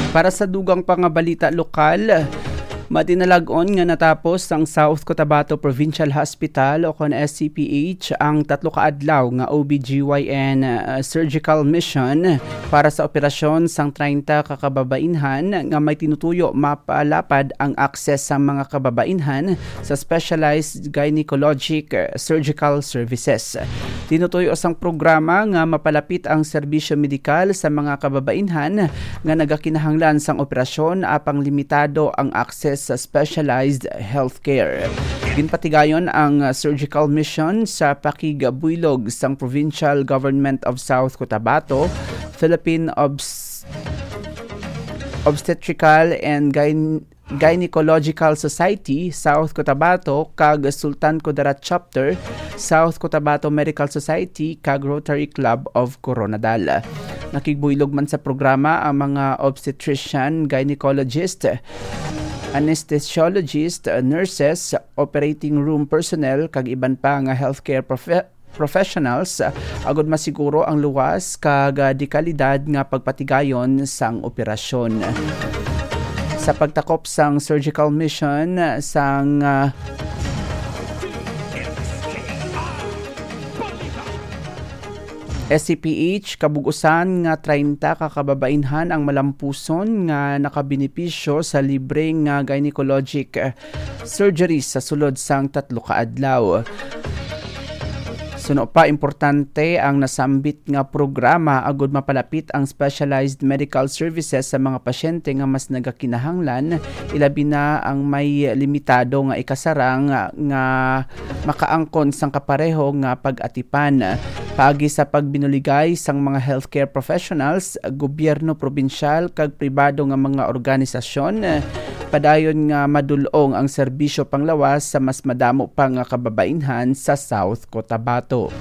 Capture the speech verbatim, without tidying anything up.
Para sa dugang pa nga balita lokal, matinalag-on nga natapos sang South Cotabato Provincial Hospital o kon S C P H ang tatlo ka adlaw nga O B G Y N, uh, surgical mission para sa operasyon sang treinta ka kababainhan nga may tinutuyo mapalapad ang access sa mga kababainhan sa specialized gynecologic, uh, surgical services. Tinutuyo sang programa nga mapalapit ang serbisyo medikal sa mga kababainhan nga nagakinahanglan sang operasyon apang limitado ang access sa specialized healthcare. Ginpatigayon ang surgical mission sa pakigbuylog sang Provincial Government of South Cotabato, Philippine Obs- Obstetrical and Gyn- Gynecological Society, South Cotabato, kag Sultan Kudarat Chapter, South Cotabato Medical Society, kag Rotary Club of Koronadal. Nakigbuylog man sa programa ang mga obstetrician, gynecologist, anesthesiologist, nurses, operating room personnel, kag iban pa nga healthcare profe- professionals, uh, agud masiguro ang luwas kag, uh, dekalidad nga pagpatigayon sang operasyon. Sa pagtakop sang surgical mission sang, uh, S C P H, kabug-usan nga treinta ka kababainhan ang malampuson nga nakabenepisyo sa libre nga gynecologic, uh, surgery sa sulod sang tatlo ka adlaw. Suno pa, importante ang nasambit nga programa agud mapalapit ang specialized medical services sa mga pasyente nga mas nagakinahanglan, ilabi na ang may limitado nga ikasarang nga makaangkon sang kapareho nga pag-atipan. Paagi sa pagbinuligay sang mga healthcare professionals, gobyerno probinsyal kag pribado nga mga organisasyon, padayon nga madul-ong ang serbisyo panglawas sa mas madamo pa nga kababainhan sa South Cotabato.